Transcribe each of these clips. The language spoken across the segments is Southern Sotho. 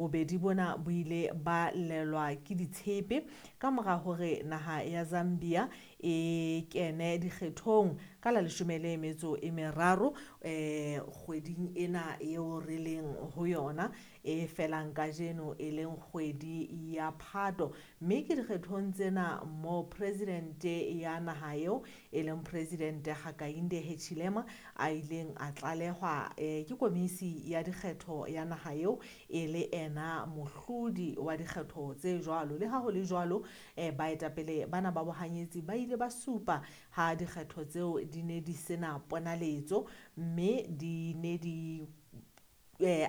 Bobedi bona bo ile ba llelwa ke ditshepe ka mora hore naha ya Zambia e kene dikgethong ka la 13 kgweding ena eo re leng ho yona e felang kajeno, e leng kgwedi ya Phato. Mme ke dikgethong tsena mo presidente ya naha eo e leng Presidente Hakainde Hichilema a ileng a tlalehwa ke komisi ya dikgetho ya naha eo e le ena mohlodi wa dikgetho tse jwalo. Le ha ho le jwalo, baetapele bana ba bohanyetsi ba ile ba supa ha dikgetho tseo di ne di sena ponaletso, mme di ne di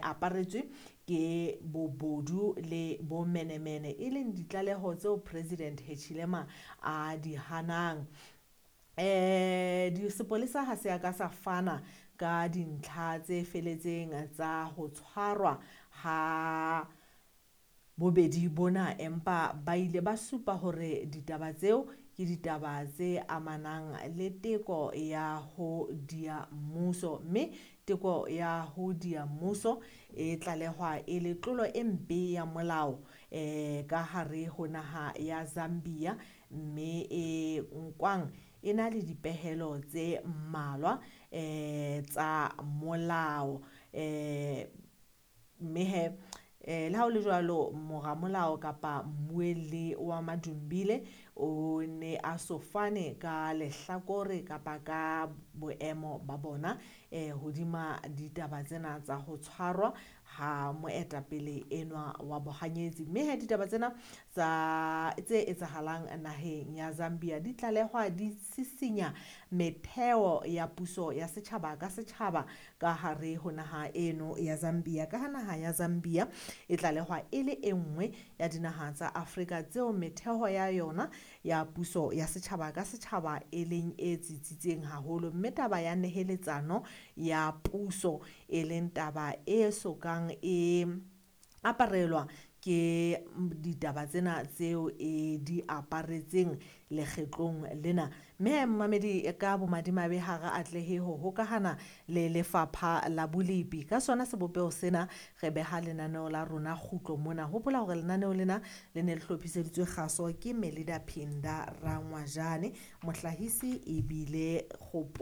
aparetswe ke bobodu le bomenemene, e leng ditlaleho tseo President Hichilema a di hanang. Sepolesa ha se a ka sa fana ka dintlha tse feletseng tsa ho tshwarwa ha bobedi bona, empa ba ile ba supa hore ditaba tseo ke ditaba tse amanang le teko ya ho dia mmuso, mme teko ya ho dia mmuso e tlalehwa e le tlolo e mpe ya molao ka hare ho naha ya Zambia, mme e nkwang e na le dipehelo tse mmalwa tsa molao. Mme he le ha ho le jwalo, moramolao kapa mmuelli wa Madumbile o ne a so fane ka lehlakore kapa ka boemo ba bona hodima ditaba tsena tsa ho tshwarwa ha moetapele enwa wa bohanyetsi. Mme he ditaba tsena tsa tse etsahalang naheng ya Zambia di tlalehwa di sisinya metheo ya puso ya setjhaba ka setjhaba ka hare ho naha eno ya Zambia, ka ha naha ya Zambia e tlalehwa e le e nngwe ya dinaha tsa Afrika tseo metheo ya yona ya puso ya setjhaba ka setjhaba e leng e tsitsitseng haholo, mme taba ya neheletsano ya puso e leng taba e sokang e aparelwa ke ditaba tsena tseo e di aparetseng lekgetlong lena. Mme mmamedi, ka bomadimabe ha re atlehe ho hokahana le lefapha la bolepi. Ka sona sebopeho sena re beha lenaneo la rona kgutlo mona. Hopola hore lenaneo lena le ne le hlophiseditswe kgaso ke Melida Phinda Rangwajane, mohlahisi ebile Kgopo.